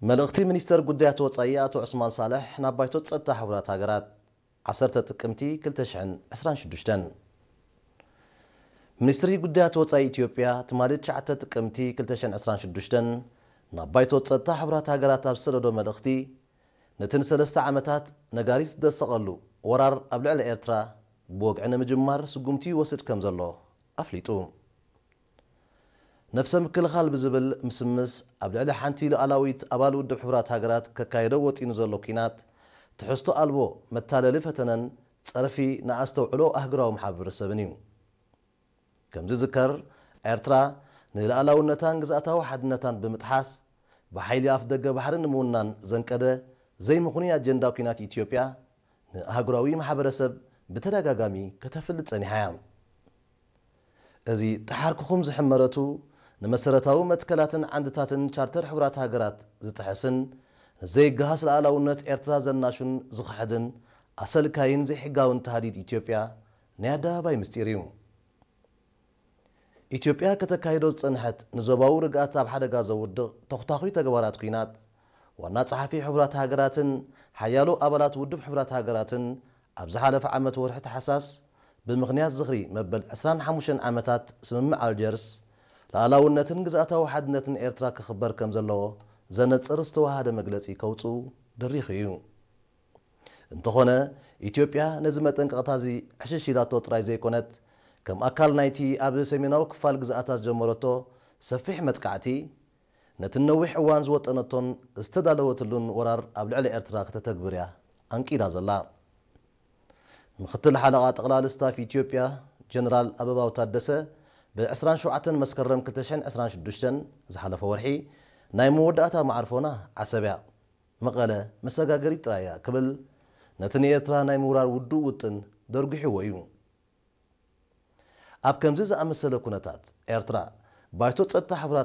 መልእኽቲ ሚኒስተር ጉዳያት ወጻኢ ኣቶ ዑስማን ሳልሕ ናብ ባይቶ ጸጥታ ሕቡራት ሃገራት። ዓሰርተ ጥቅምቲ ክልተ ሽሕን ዕስራን ሽዱሽተን። ሚኒስትሪ ጉዳያት ወጻኢ ኢትዮጵያ ትማሊ ትሽዓተ ጥቅምቲ ክልተ ሽሕን ዕስራን ሽዱሽተን ናብ ባይቶ ጸጥታ ሕቡራት ሃገራት ኣብ ዝሰደዶ መልእኽቲ፣ ነቲ ንሰለስተ ዓመታት ነጋሪት ዝደሰቐሉ ወራር ኣብ ልዕሊ ኤርትራ ብወግዒ ንምጅማር ስጉምቲ ይወስድ ከም ዘሎ ኣፍሊጡ። ነፍሰ ምክልኻል ብዝብል ምስምስ ኣብ ልዕሊ ሓንቲ ሉዓላዊት ኣባል ውድብ ሕቡራት ሃገራት ከካየዶ ወጢኑ ዘሎ ኲናት ትሕዝቶ ኣልቦ መታለሊ ፈተነን ጸርፊ ንኣስተውዕሎ ኣህጉራዊ ማሕበረሰብን እዩ። ከም ዝዝከር፣ ኤርትራ ንሉዓላውነታን ግዝኣታዊ ሓድነታን ብምጥሓስ ብሓይሊ ኣፍ ደገ ባሕሪ ንምውናን ዘንቀደ ዘይምኽኑይ ኣጀንዳ ኲናት ኢትዮጵያ ንኣህጉራዊ ማሕበረሰብ ብተደጋጋሚ ከተፍልጥ ጸኒሓ እያ። እዚ ጠሓርክኹም ዝሕመረቱ ንመሰረታዊ መትከላትን ዓንድታትን ቻርተር ሕቡራት ሃገራት ዝጥሕስን ንዘይገሃስ ሉዓላውነት ኤርትራ ዘናሹን ዝኽሕድን ኣሰልካይን ዘይሕጋውን ተሃዲድ ኢትዮጵያ ናይ ኣደባባይ ምስጢር እዩ። ኢትዮጵያ ከተካይዶ ዝጸንሐት ንዞባዊ ርግኣት ኣብ ሓደጋ ዘውድቕ ተኹታኹይ ተግባራት ኲናት፣ ዋና ጸሓፊ ሕቡራት ሃገራትን ሓያሎ ኣባላት ውድብ ሕቡራት ሃገራትን ኣብ ዝሓለፈ ዓመት ወርሒ ታሕሳስ ብምኽንያት ዝኽሪ መበል ዕስራን ሓሙሽተን ዓመታት ስምምዕ ኣልጀርስ፣ ሉዓላውነትን ግዝኣታዊ ሓድነትን ኤርትራ ክኽበር ከም ዘለዎ ዘነጽር ዝተዋሃደ መግለጺ ከውጽኡ ድሪኹ እዩ። እንተኾነ፣ ኢትዮጵያ ነዚ መጠንቀቕታ እዚ ዕሽሽ ኢላቶ ጥራይ ዘይኮነት፣ ከም ኣካል ናይቲ ኣብ ሰሜናዊ ክፋል ግዝኣታ ዝጀመረቶ ሰፊሕ መጥቃዕቲ፣ ነቲ ነዊሕ እዋን ዝወጠነቶን ዝተዳለወትሉን ወራር ኣብ ልዕሊ ኤርትራ ከተተግብር እያ ኣንቂዳ ዘላ። ምኽትል ሓለቓ ጠቕላሊ ስታፍ ኢትዮጵያ ጀነራል ኣበባው ታደሰ ብ ዕስራን ሸውዓተን መስከረም ክልተ ሽሕን ዕስራን ሽዱሽተን ዝሓለፈ ወርሒ ናይ መወዳእታ መዓርፎና ዓሰብ እያ፣ መቐለ መሰጋገሪት ጥራይ እያ ክብል ነቲ ንኤርትራ ናይ ምውራር ውዱእ ውጥን ደርጒሕዎ እዩ። ኣብ ከምዚ ዝኣመሰለ ኩነታት ኤርትራ ባይቶ ጸጥታ ሕቡራት